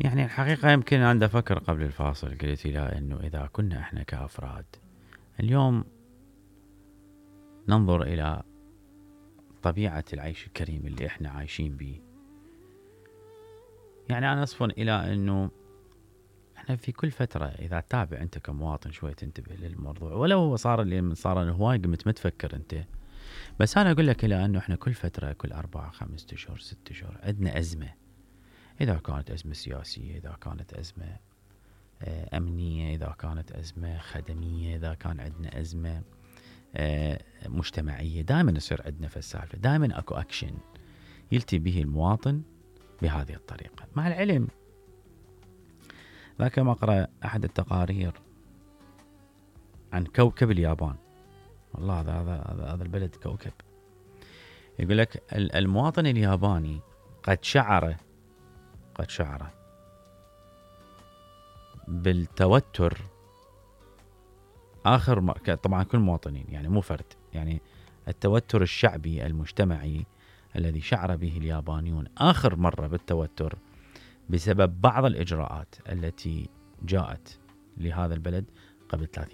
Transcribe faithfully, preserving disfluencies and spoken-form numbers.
يعني الحقيقة يمكن أنا أفكر قبل الفاصل قلت لا إنه إذا كنا إحنا كأفراد اليوم ننظر إلى طبيعة العيش الكريم اللي إحنا عايشين به، يعني أنا أصفن إلى إنه إحنا في كل فترة إذا تتابع أنت كمواطن شوي تنتبه للموضوع، ولو هو صار اللي من صار هواي قمت متفكر أنت، بس أنا أقول لك إلى إنه إحنا كل فترة كل أربعة خمسة أشهر ستة أشهر عندنا أزمة، إذا كانت أزمة سياسية، إذا كانت أزمة أمنية، إذا كانت أزمة خدمية، إذا كان عندنا أزمة مجتمعية، دائما يصير عندنا في السالفة، دائما أكو أكشن يلتي به المواطن بهذه الطريقة. مع العلم ذاك ما أقرأ أحد التقارير عن كوكب اليابان، والله هذا هذا هذا البلد كوكب، يقول لك المواطن الياباني قد شعر قد شعر بالتوتر آخر م... طبعا كل مواطنين يعني مو فرد، يعني التوتر الشعبي المجتمعي الذي شعر به اليابانيون آخر مرة بالتوتر بسبب بعض الإجراءات التي جاءت لهذا البلد قبل ثلاثين